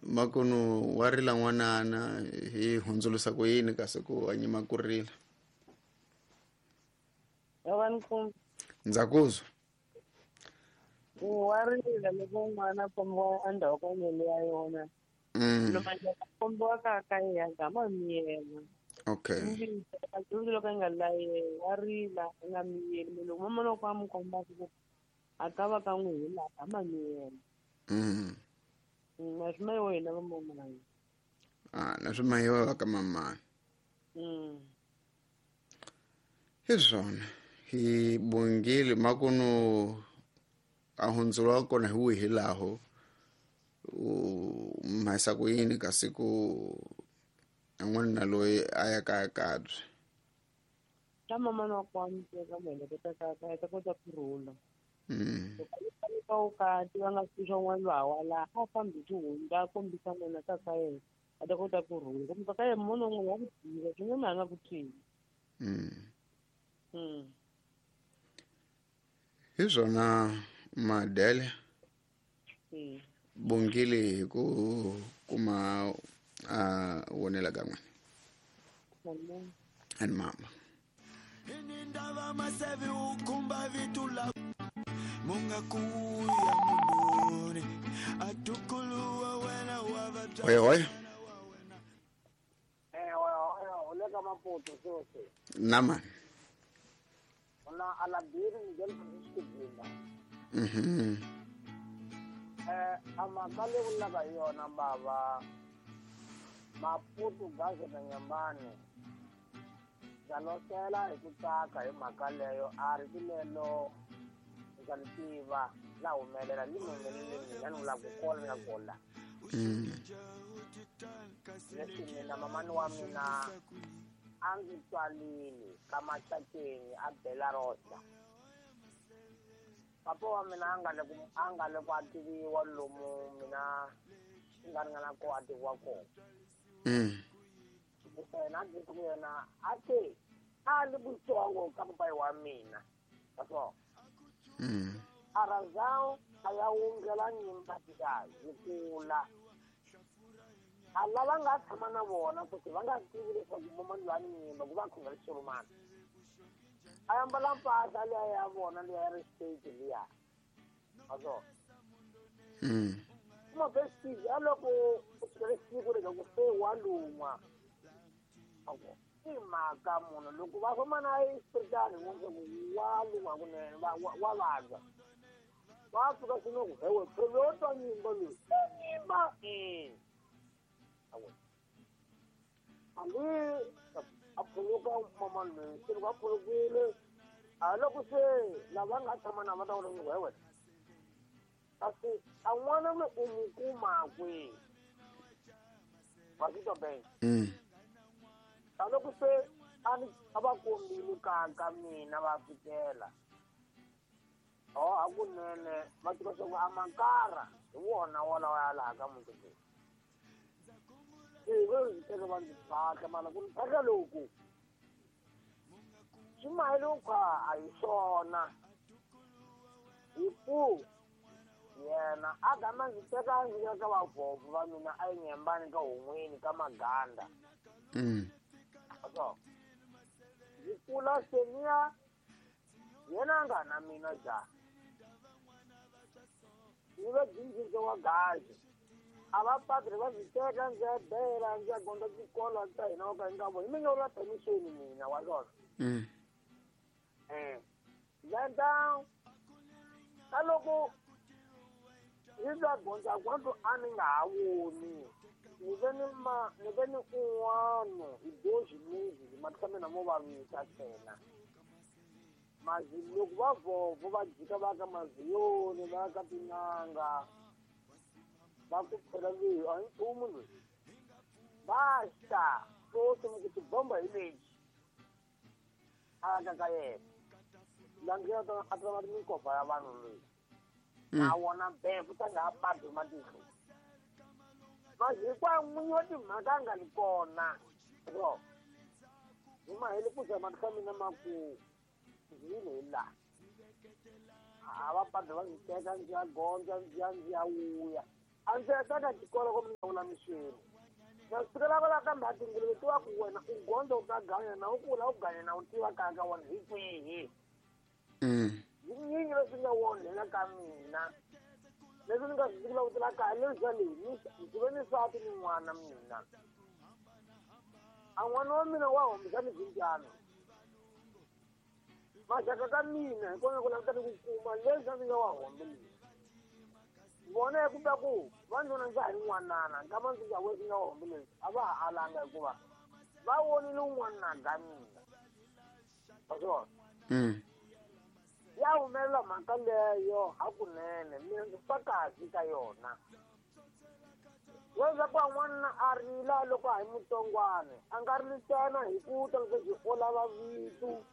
Makunu wa rila n'wanana hi hundzulusa ku yini kasi ku a nyima ku rila. Ndza kuzwa. Wa rila loko n'wana a kombiwa endzhaku ka nyele ya yona. Loko a kombiwa ka ka yena gama miyela. Okay. Dyondzo loko a nga layeli wa rila a nga miyeli loko mama loko a n'wi komba ku a ka va ka n'wi hila gama miyela. Na swi mayiwa hina va mamani. Ah, na swi mayiwa va ka mamani. Hi swona hi bongile makunu a hundzuriwa kona hi wihi laho u mhasa ku yini kasi ku n'wanuna loyi a ya kaya kabye. Ta mama na kwami teka mieleketa ka ka ta kota ku rhula. Loko u kati va nga swi n'wana lowa la a fambi tihunda kombisa n'wana ka ka yena a ta kota ku rhula. Kumbe ka yena munhu un'wana wa ku tiva swinene a nga ku tivi. Hi swona Madele. Bongile hi ku kuma a wonela ka n'wina. Ani mama. Indaba masevi ukhumba vitu la munga kuya mundoni atukuluwa wena wava Oye oye. Olega Maputo sose. Nama. Ona alabiri ngel kusikubinda. Amakale ulaka yona baba Maputo gaze na nyambani. Jalosela ikutaka hi mhaka leyo a ri lelo ndza ri tiva la humelela li humelele mina ni vula ku kola ni nga kola. Leswi mina mamani wa mina a ndzi tswalini ka Maxakeni a Belarosa. Papa wa mina a nga le ku a tiviwa lomu mina swi nga ringana ku a tiviwa kona. Yena a ku yena a te a li kutsongo ka papai wa mina. Kaso. A razão a ya wungela nyimba tika yi kula. A lava nga tshama na vona ku va nga tivi leswaku mama loyi a ni nyimba ku va khongela xirumana. A ambala mpahla liya ya vona liya ya ri state liya. Kaso. Kuma vestige a loko ku fikele siku leswaku se wa lun'wa. I mhaka munhu loko va famba na exipitali wa lun'wa kunene wa vabya. Va fika swino ku hewe phela yo twa nyimba loyi. Nyimba hambi a phuluka mama loyi se loko a phulukile a loko se lava nga tshama na va ta vula ku hewe kasi a n'wana loyi u n'wi kuma kwihi va swi twa bene. Loko se a va kombile ka mina va fikela hakunene va tiva swa ku a makara hi wona walawa ya laha ka muti lowu. Se va ndzi teka va ndzi phahla mara ku ni phahla loku swi mahele ku a hi swona hi ku yena a gama ndzi teka ndzi ya ka vavhovho va mina a yi nyembani ka hon'wini ka maganda. So ndzi kula seniya yena a nga na mina ja ni va jinjinjo wa gazi a va padre va ndzi teka ndzi ya bela ndzi ya gonda xikolo ta hina wa ka nga vo hi mina ula permission mina wa swona. Lenda ka loko hi va gondza kwanto a ni nga ha voni ni ve ni ma ni ve ni un'wana hi doji mizi matihlo mina mo vavisa ntsena. Mazi loko va vhovho va jika va ka maziyoni va ka tin'anga va ku phela leyi a hi nchumu loyi basta sosi mi ku tibomba hi lexi a ka ka yena langiya a ta va minkova ya vanhu loyi na wona befu ta nga ha padi matihlo mazi hinkwayo n'winyi wa timhaka a nga li kona ro hi mahele ku za matihlo mina ma ku ndzi hi laha a va padi va ndzi teka ndzi ya gondza ndzi ya ndzi ya wuya A ndzi hetanga xikolo ku mi lawula mixini. Na sukela kwala ka mhatinguluve tiva ku wena u gondzo u ta ganya na u kula u ganya na u tiva kaya ka wena hi kwihi. Yinyingi leswi nga wonhela ka mina. Leswi ni nga swi langutela kaya leswi leyi ndzi ve ni nsati ni n'wana mina. A n'wana wa mina wa hombisa ni swindyana. Maxaka ka mina hi kona ku languta ni ku kuma leswi a ndzi nga wa hombeli. Vona hi ku ta ku va ndzi ndza ha ri n'wanana nkama ndzi nga wesi nga hombeli a va ha alanga hikuva va vonile un'wana ka mina. Wa swona? Ya humelela mhaka leyo hakunene mina ndzi fa kahle ka yona. Leswaku n'wana a rila loko a hi mutsongwana a nga rili ntsena hi ku ta leswaku u lava vito.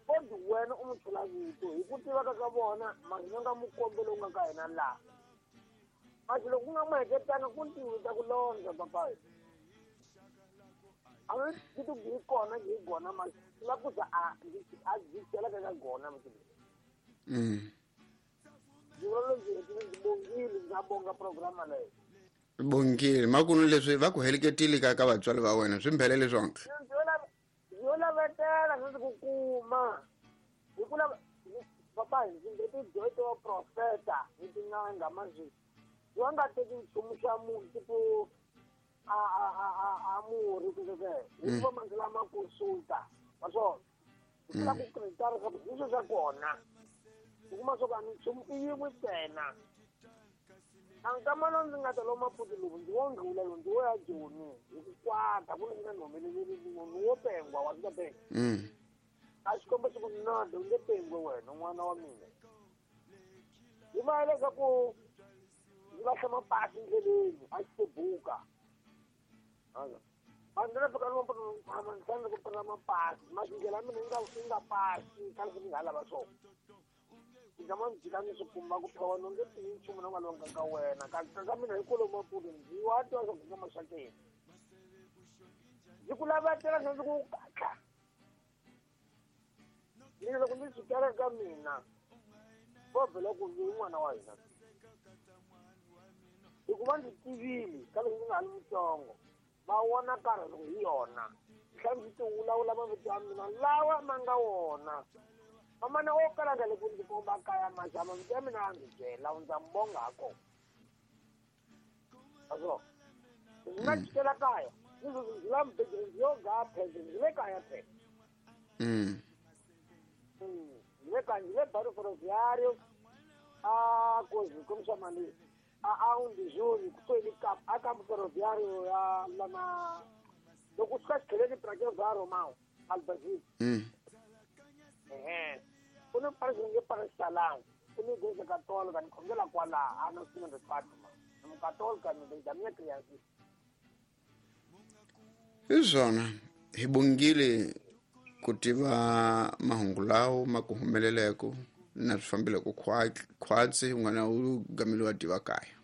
Kodi wena u n'wi chela vito hi ku tiva ka vona masi nga mukombe lowu nga ka hina laha. Masi loko ku nga n'wi heketanga ku ntiwi ta ku londza papayi. A ngi vito byi kona byi gona masi la ku za a byi chela ka gona masi. Ndzi vula ndzi bongile ndza bonga programa leyi. Bongile makunu leswi va ku heleketile ka vatswari va wena swi mbhelele swonke. Yo lavetela ndzi ku kuma. Hi ku lava papa ndzi nge tidyondzo wa profeta ni tin'anga manje. Wa nga teki nchumu xa munhu tipo a murhi ku hikuva mandzi lama consulta wa swona. Ku la ku kritara swa ku leswi swa kona. U kuma swa ku a nchumu i yin'we ntsena. A nkamana ndzi nga ta loma maputi lowu ndzi wo ndlula lowu ndzi wo ya Joni hi ku kwata ku ni nga ni humeleli ni wo pengwa wa swi ta. A xikombo xi ku nada u nge pengwe wena n'wana wa mina. Hi va leswaku ndzi lahla mapasi ndleleni a xi buka. A ndzi fika ni ndzi ku pfuna mapasi masi ndlela ya mina yi nga pasi ka leswi ni nga lava swona. Ndzi ma ndzi ni swi kuma ku phela wena u nge tivi nchumu na nga longa ka wena ka mina hi kolo maputi ndzi wa twa swa ku nga maxakeni. Ndzi ku lavetela ndzi ku katla. Mina loko ndzi sukela ka mina vo vhela ku ndzi n'wana wa hina. Hikuva ndzi tivile ka loko ndzi nga ha ri mutsongo va vona karhi loko hi yona. Tlhela ndzi ti vulavula mavito ya mina lawa ma nga wona. Mamana wo kala nga le ku ndzi komba kaya maxava mavito ya mina a ndzi byela ndza mi bonga ha kona. Aso ndzi nga jikela kaya ndzi ndzi la mbedlele ndzi yo ga phele ndzi le kaya phele. Ndzi le kaya ndzi le Barrio Ferroviário a coisa como chama ali a um de julho que foi a Campo Ferroviário ya lá na loko swi ka xitlheleni pra ke va Romão Albazil. Ku ni parish nge parish Salam ku ni igreja católica ni khongela kwala a no sina de Fatima ni mukatolika ni desde a minha criança. Hi swona hi bongile ku tiva mahungu lawo ma ku humeleleko na swi fambile ku khwatsi n'wana u gamile wa tiva kaya.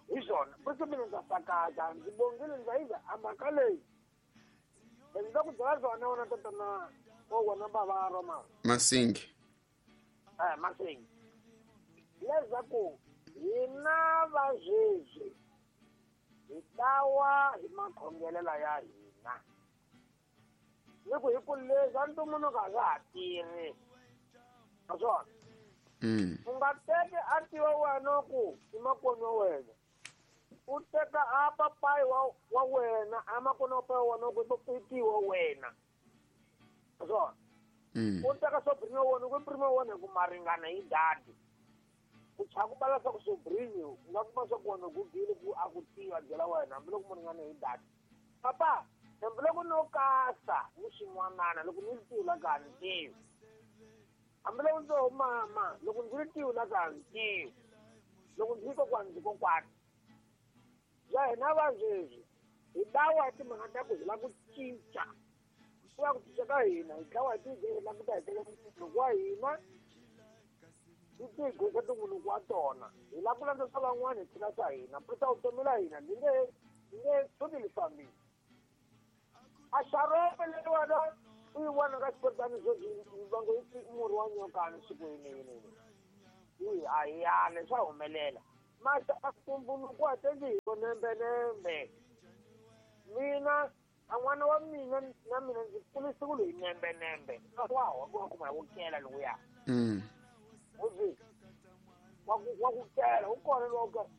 Hi swona futhi mina ndza sakaza ndzi bongile ndza yiva a mhaka leyi. Ndzi ta ku byela swona wena tatana o wena bava Roma. Masingi. Masingi. Leswaku hina va sweswi hi dawa hi makhongelela ya hina. Ni ku hi ku leswi a ntumbuluko a swa ha tirhi. Naswona u nga teki a tiva wena ku i makwenu wa wena. U teka a papayi wa wena a makwenu wa papayi wa wena ku i tiwa wena. Naswona u teka sobrinho wa wena ku i primo wa wena hi ku maringana hi dadi. Ku chava ku bala swa ku sobrinho u nga kuma swa ku wena gugile ku a ku tiva byela wena hambiloko mu ringana hi dadi. Papa hambiloko no kasa ni xin'wanana loko ni ri tivi la ka ni tivi. Hambiloko ndzi ho mama loko ndzi ri tivi la ka ni tivi. Loko ndzi kokwani ndzi kokwani. Ya hina va sweswi hi dawa hi timhaka ta ku hi lava ku cinca. Ku va ku cinca ka hina hi dlawa hi tigezi la ku ta hetelela munhu wa hina hi tigezi tin'wini wa tona. Hi lava ku landza swa van'wana hi tshika swa hina. Purisa vutomi la hina ndzi nge tshuki li fambile. A xarope leriwani u yi vona ka xipotani sweswi va ngo i murhi wa nyokani siku yini yini. Yi a hi yale swa humelela. Masa ntumbuluko a tendzi hi nembenembe. Mina a n'wana wa mina na mina ndzi kurisiwile hi nembenembe. Wa wa kuma wu kela lowuya. Uzi wa ku kela wu kona loko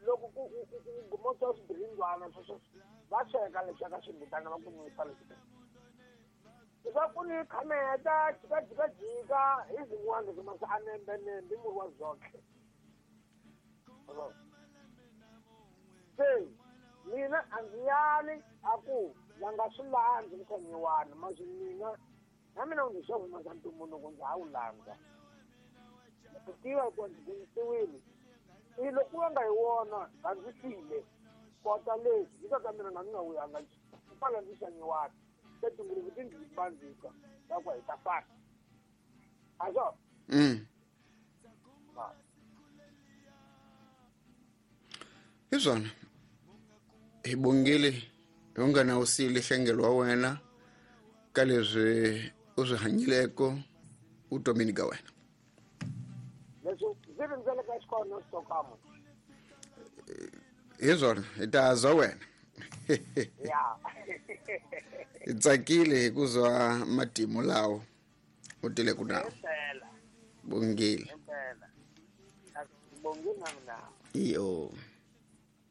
loko ku gumota swibirindwana sweswo va sweka leswi ka swimbutana va ku nwisa leswi. Leswaku ni khameta jika jika jika hi zin'wana leswi masa a nembenembe i murhi wa zoxe. Se mina a ndzi yali a ku va nga swi landzi mukhanyiwani masi mina na mina ndzi swa humesa ntumbuluko ndza ha wu landza. Ku tiva hikuva ndzi dyondzisiwile. I loko ku nga hi wona a ndzi file kota leswi hi ka mina nga ndzi nga wuyanga kwala ndzi xanyiwani se tinguluve ti ndzi bandzisa ta ku hi ta fana a swo. Hi swona hi bongile hi nga na usile hlengelo wa wena ka leswi u swi hanyileko vutomini ka wena. Leswi ndzi rindzeleka xikolo xitokamo. Hi swona hi ta zwa wena. Ya. Hi tsakile hi ku zwa matimu lawo u tile ku nawo. Bongile. Bongile na mina. Iyo.